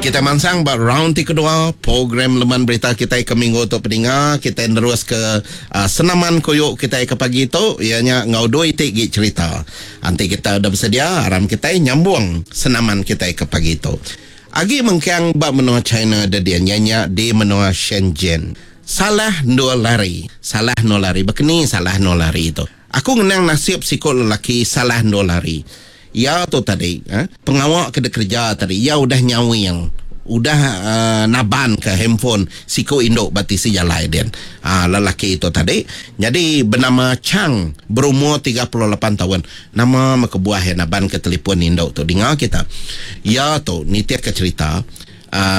Kita mansang ba round ti kedua program Leman Berita kitai ke minggu tu peninga kitai nerus ke uh, senaman koyok kitai ke pagi tu iya nya enggau dua iti gi cerita. Anti kita udah bersedia aram kitai nyambung senaman kitai ke pagi tu. Agi mengkang ba menua China dedin iya nya di menua Shenzhen. Salah endur lari. Salah endur lari. Bekeni salah endur lari tu? Aku ngenang nasib siku lelaki salah endur lari. Iya tu tadi, pengawa ke dikereja tadi iya udah nyawing, udah nabanka handphone siku indu ba tisi jalai din. Lelaki tu tadi nyadi benama Chang berumur 38 taun. Nama meh kebuah iya nabanka telefon indu tu dinga kita. Iya tu nitihka cherita.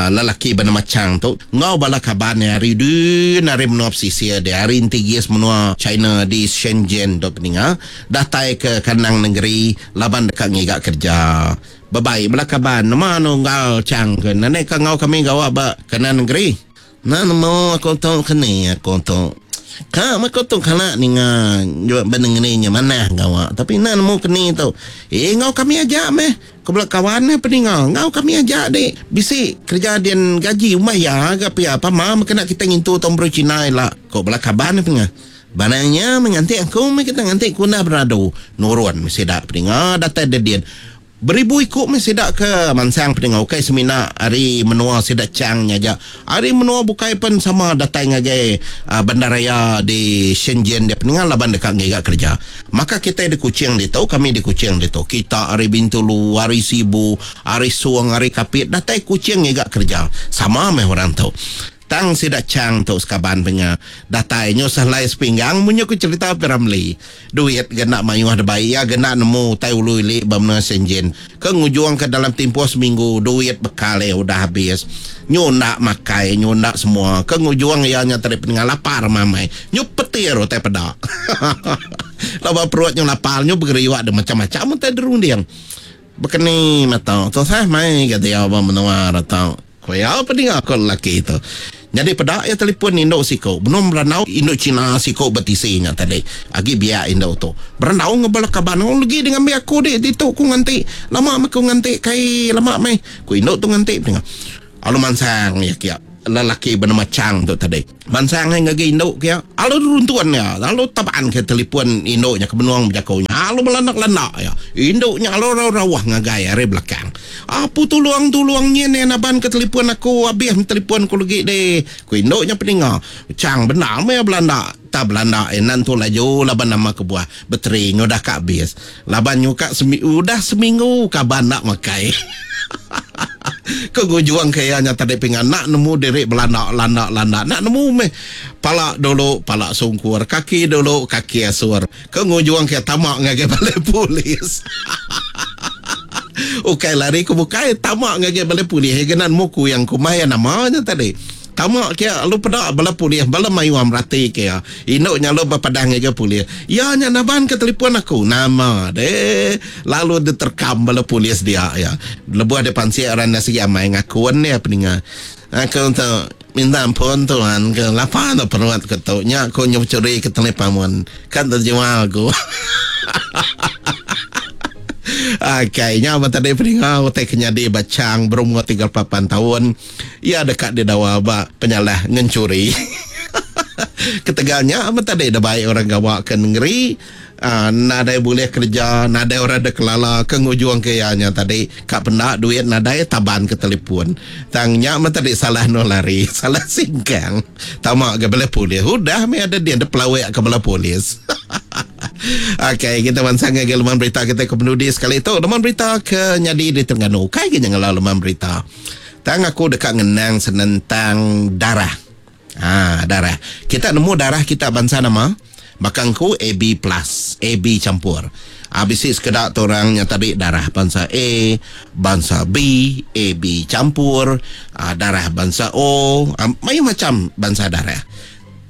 Lelaki benama Chang tu enggau bala kaban iya ari din ari menua pesisir dia ari entigis menua China di Shenzhen tu peninga datai ke kandang nengeri laban deka ngiga kereja. Bebai bala kaban nama anu enggau Chang ke nadai ka enggau kami gawa ba kandang nengeri. Enda nemu aku tu ke ni aku tu. Ka meh aku tu kala ninga ba nengeri nya manah gawa tapi enda nemu ke ni tu. Eh enggau kami aja meh. Ku bala kawan iya peninga enggau kami aja dik. Bisi kereja din gaji umbah iya ga pia pama meh kena kitai ngintu taun baru Cina ila, ku bala kaban iya peninga. Barang nya meh nganti aku meh kita nganti ku enda beradu. Nurun meh sida peninga datai dedin. Beribu iku meh sida ke mansang peninga ukai semina ari menua sida Chang nya aja. Ari menua bukai pen sama datai ngagai bandaraya di Shenzhen dia peninga laban deka ngiga kereja. Maka kitai di Kuching ditu, kami di Kuching ditu, kita ari Bintulu, ari Sibu, ari Song, ari Kapit datai Kuching ngiga kereja. Sama meh orang tu. Tang sida Chang tu sekaban penga datai nyusah lai sepinggang munyi ku cherita P. Ramlee. Duit ga enda mayuh dibai iya ga enda nemu utai ulu ili ba menua Shenzhen ke ngujungka dalam timpuh seminggu duit bekal iya udah abis. Nyu enda makai nyu enda semua ke ngujung iya nya tadi peninga lapar mamai nyu petir utai peda. Laban perut nyu lapar nyu begeriuk deh macam-macam utai dirunding. Bekeni mata tusah mai ga diau ba menua re tu. Ku iya pedinga ko lelaki tu. Nyadi peda iya telefon indu siku benung berandau indu cina siku betisi nya tadi. Agi biak indu tu. Berandau enggau bala kaban oh legi di ngambi aku di ditu ku nganti. Lama meh ku nganti kai lama meh ku indu tu nganti pedinga. Lalu mansang iya kia lelaki benama Chang tu tadi. Mansang ai ngagai indu kia lalu runtun iya lalu taban ke telefon indu nya ke benung bejaku nya lalu belanda-landa iya. Indu nya lalu rauh-rauh ngagai ari belakang. Apu tulung tulung nyin iya naban ke telefon aku abih meh telefon ku legi deh ku indu nya peninga. Chang bendar meh iya belanda tang belanda iya enda entu laju laban nama kebuah bateri nya udah ka abis laban nyuka udah seminggu kaban enda makai. Ke ngujung ke iya nya tadi pinga enda nemu diri belanda landa landa enda nemu meh pala dulu pala sungkur kaki dulu kaki asur ke ngujung ke tama ngagai balai polis. Ukai lari ke bukai tama ngagai balai polis iya ke enda nemu kuyang kumbai iya nama nya tadi. Tama ke lalu peda bala polis bala mayuh merati ke iya. Indu nya lalu bepadah ngagai polis. Iya nya naban ke telefon aku. Nama deh. Lalu diterkam bala polis dia iya. Lebuh dipansik orang enda sigi amai ngakun dia peninga. Aku tu minta ampun tuan ke lapa tu perut ke tu. Nya aku nyau churi ke telepamun. Kan terjual aku. Akai nya ba tadi peninga utai ke nyadi ba Chang berumur 38 taun. Iya deka didawa ba penyalah ngenchuri. Ketegal nya meh tadi dibai orang gawa ke nengeri nadai bulih kereja, nadai orang dikelala ke ngujungka iya nya tadi ka penda duit nadai taban ke telefon. Tang nya meh tadi salah endur lari, salah singkang. Tama ga bala polis. Udah meh ada din dipelawik ka bala polis. Okey, kita mansang ngagai leman berita kita ke penudi sekali tu. Leman berita ke nyadi di Terengganu. Ukai ke nya ngela leman berita. Tang aku deka ngenang senentang darah. Ha, darah. Kita nemu darah kita bansa nama? Baka engku AB plus, AB campur. Ha, bisi sekeda tu orang nya tadi darah bansa A, bansa B, AB campur, ha, darah bansa O, ha, mayuh macam bansa darah.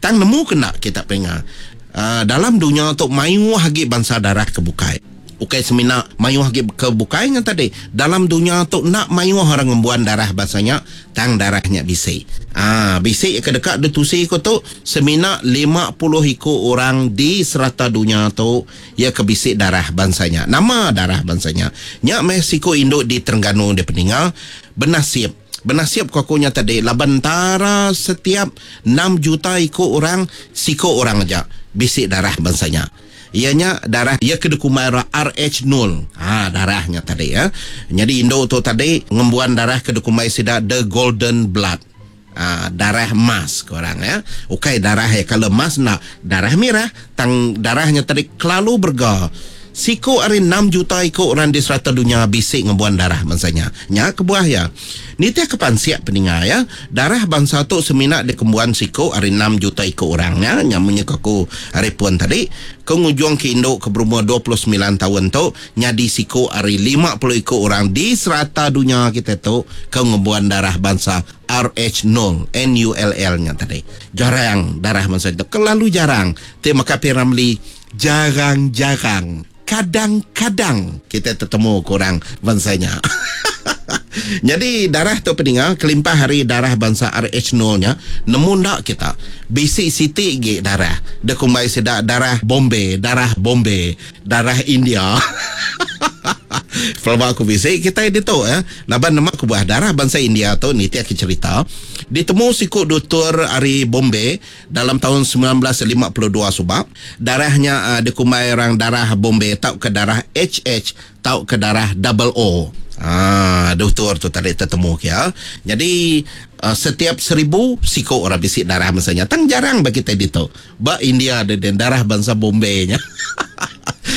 Tang nemu ke enda kita penga, ha, dalam dunya tu mayuh agi bansa darah ke bukai. Ukai semina mayuh agi ke bukai nya tadi. Dalam dunya tu enda mayuh orang ngembuan darah bansa nya tang darah nya bisi. Aa bisi ke deka ditusi ku tu semina 50 iku orang di serata dunya tu iya ke bisi darah bansa nya. Nama darah bansa nya? Nya meh siku indu di Terengganu dipeninga benasib. Benasib ku aku nya tadi laban entara setiap enam juta iku orang siku orang aja bisi darah bansa nya. Iya nya darah iya ke dikumbai orang RH nul. Ha darah nya tadi ya. Nyadi indu tu tadi ngembuan darah ke dikumbai sida the golden blood. Ha darah emas ku orang ya. Ukai darah iya kala emas enda, darah mirah tang darah nya tadi kelalu berega. Siku ari enam juta iku orang di serata dunya bisi ngembuan darah bansa nya. Nya kebuah iya. Nitihka pansik peninga iya, darah bansa tu semina dikembuan siku ari enam juta iku orang nya. Nya munyi ku aku ari pun tadi, ke ngujungka indu ke berumur 29 taun tu nyadi siku ari 50 iku orang di serata dunya kitai tu ke ngembuan darah bansa RH nul, NULL, nya tadi. Jarang darah bansa tu, kelalu jarang. Ti maka P. Ramlee Jarang-jarang, kadang-kadang kitai tetemu ke orang bansa nya. Nyadi darah tu peninga kelimpah ari darah bansa RH nul nya, nemu enda kita, bisi siti gi darah dikumbai sida darah Bombay, darah Bombay, darah India. Pelaba aku bisi kitai ditu eh laban nema kebuah darah bansa India tu nitihka cherita ditemu siku dutur ari Bombay Dalam taun 1952 suba, darah nya dikumbai orang darah Bombay tauka darah HH tauka darah double O. Haa, dutur tu tadi tetemu ke iya. Nyadi setiap seribu siku orang bisi darah bansa nya. Tang jarang ba kitai ditu. Ba India deh darah bansa Bombay nya.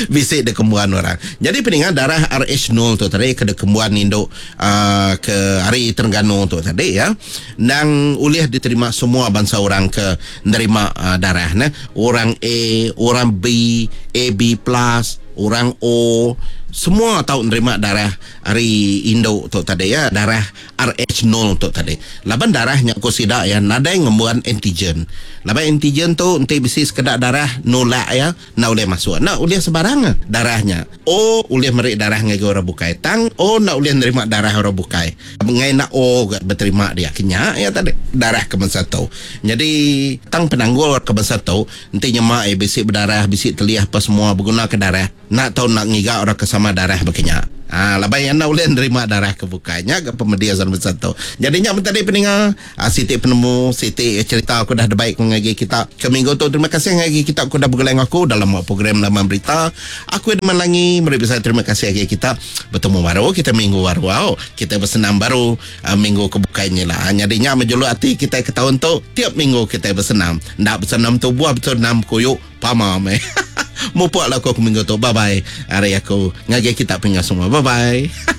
Bisi dikembuan orang. Nyadi peninga darah RH nul tu tadi ke dikembuan indu uhh ke ari Terengganu tu tadi ya endang ulih diterima semua bansa orang ke nerima darah ne. Orang A, orang B, AB plus, orang O semua tau nerima darah ari indu tu tadi ya darah RH nul tu tadi. Laban darah nya ku sida iya nadai ngembuan antigen. Laban antigen tu enti bisi sekeda darah nulak iya Enda ulih masuk. Enda ulih sebarang darah nya. O ulih meri darah ngagai orang bukai. Tang O enda ulih nerima darah orang bukai. Enggai enda O ga beterima dia. Ke nya iya tadi darah ke bansa tu. Nyadi tang penanggul ke bansa tu enti nyema iya bisi bedarah, bisi telih apa semua begunaka darah, enda tau enda ngiga orang ke sama darah baka nya. Haa laban iya enda ulih nerima darah ke bukai. Nya ga pemedis orang bansa tu. Nyadi nya meh tadi peninga. Siti penemu, siti cerita aku dah debai ku ngagai kita ke minggu tu. Terima kasih ngagai kita ku dah begulai enggau aku dalam program Laman Berita. Aku Edmund Langi meri besai terima kasih ngagai kita. Betemu baru kita minggu baru au. Kita besenam baru minggu ke bukai nyila. Nyadi nya meh juluk ati kitai ke taun tu. Tiap minggu kitai besenam. Enda besenam tubuh besenam kuyu pama meh. Mupuk lah aku ke minggu tu. Bye bye ari aku ngagai kita pengingat semua. Bye bye.